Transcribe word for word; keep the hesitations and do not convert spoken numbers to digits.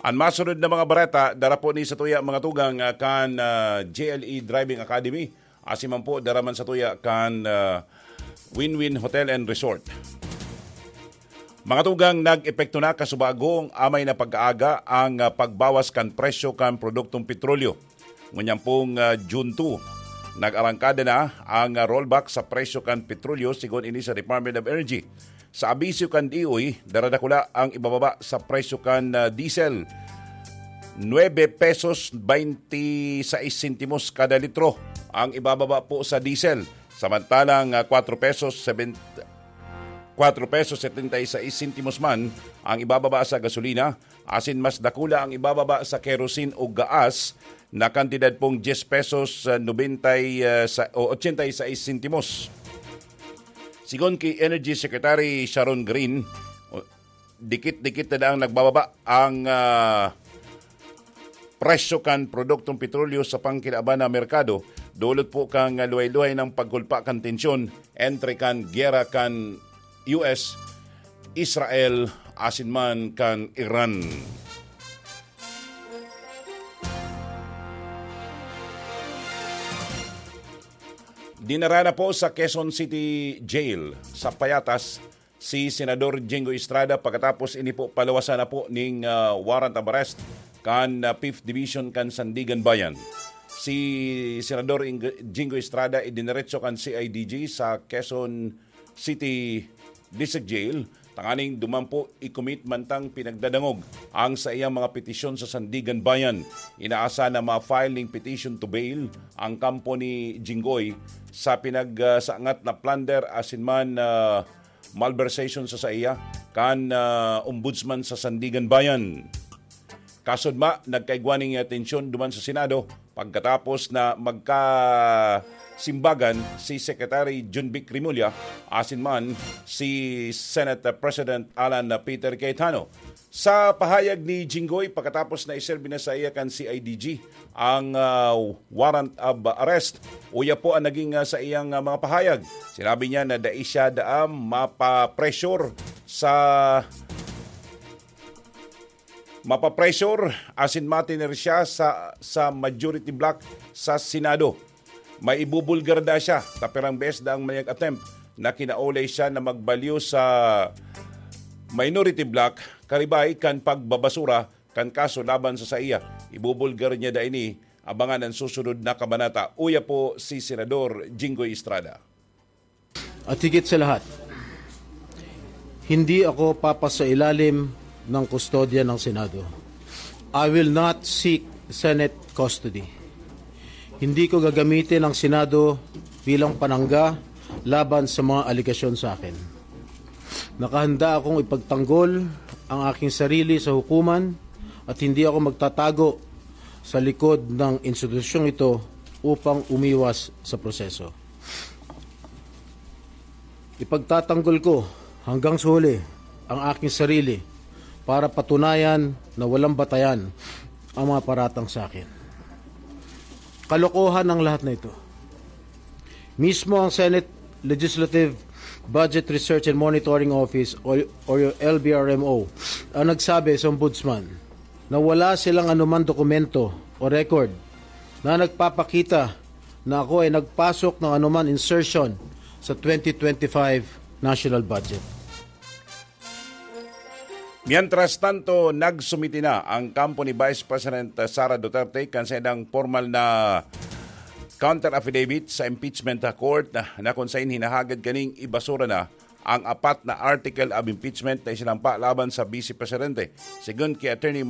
An masunod na mga bareta, dara po ni sa tuya mga tugang ah, kan ah, J L E Driving Academy. Asin man po, dara man sa tuya kan ah, Win-Win Hotel and Resort. Mga tugang, nag-epekto na kasubago amay na pag-aaga ang ah, pagbawas kan presyo kan produktong petrolyo. Ngunyan pong ah, June two, nag-arangkada na ang ah, rollback sa presyo kan petrolyo, sigon ini sa Department of Energy. Sa abisyo kan D O E, daradakula ang ibababa sa presyo kan ah, diesel. Nuebe pesos baynte sais sentimos kada litro ang ibababa po sa diesel. Samantalang ah, kwatro pesos seben-, kwatro pesos setenta y seis sentimos man ang ibababa sa gasolina, asin mas dakula ang ibababa sa kerosene o gaas na kantidad pong diyes pesos ah, nobenta y, ah, sa, o ochenta y seis sentimos. Sigon ki Energy Secretary Sharon Green, o, dikit-dikit na daang nagbababa ang ah, presyo kan produktong petrolyo sa pangkinaban na merkado, dulot po kan luhay-luhay na pagkulpa kan tensyon entre kan giyera kan U S, Israel, asin man kan Iran. Dinara na po sa Quezon City Jail sa Payatas si Senador Jinggoy Estrada pagkatapos ini po paluwasan na po ning ah, warrant of arrest kan ah, Fifth Division kan Sandiganbayan. Si Senador Ing-, Jinggoy Estrada idineretso kan C I D G sa Quezon City District Jail tanganing duman po i-commit mantang pinagdadangog ang saiyang mga petisyon sa Sandiganbayan. Inaasa na ma-file ning petition to bail ang kampo ni Jinggoy sa pinagsangat na plunder asin man ah, malversation sa saiya kan ah, Ombudsman sa Sandiganbayan. Kasudma, nagkaigwa ning atensyon duman sa Senado pagkatapos na magkasimbagan si Secretary John Vic Remulla asin man si Senate President Alan Peter Cayetano. Sa pahayag ni Jinggoy, pagkatapos na iserbi na sa iya kan C I D G ang ah, warrant of arrest, uya po ang naging ah, sa iyang ah, mga pahayag. Sinabi niya na dai siya daam mapapressure sa mapapressure asin matiner siya sa, sa majority bloc sa Senado. May ibubulgar da siya, tapirang beses daang mayag attempt na kinaulay siya na magbalyo sa minority bloc, karibay kan pagbabasura kan kaso laban sa saiya. Ibubulgar niya da ini, abangan ang susunod na kabanata. Uya po si Senador Jinggoy Estrada. At higit sa lahat, hindi ako papasailalim ng kustodya ng Senado. I will not seek Senate custody. Hindi ko gagamitin ang Senado bilang panangga laban sa mga alegasyon sa akin. Nakahanda akong ipagtanggol ang aking sarili sa hukuman at hindi ako magtatago sa likod ng institusyong ito upang umiwas sa proseso. Ipagtatanggol ko hanggang sa huli ang aking sarili para patunayan na walang batayan ang mga paratang sa akin. Kalokohan ang lahat na ito. Mismo ang Senate Legislative Budget Research and Monitoring Office o, o L B R M O ang nagsabi sa Ombudsman na wala silang anuman dokumento o record na nagpapakita na ako ay nagpasok ng anuman insertion sa twenty twenty-five national budget. Mientras tanto, nagsumiti na ang kampo ni Vice President Sara Duterte kan saindang formal na counter affidavit sa impeachment court na, na kung sain hinahagad kaning ibasura na ang apat na article of impeachment na isinampa laban sa Vice Presidente. Sigon ki Attorney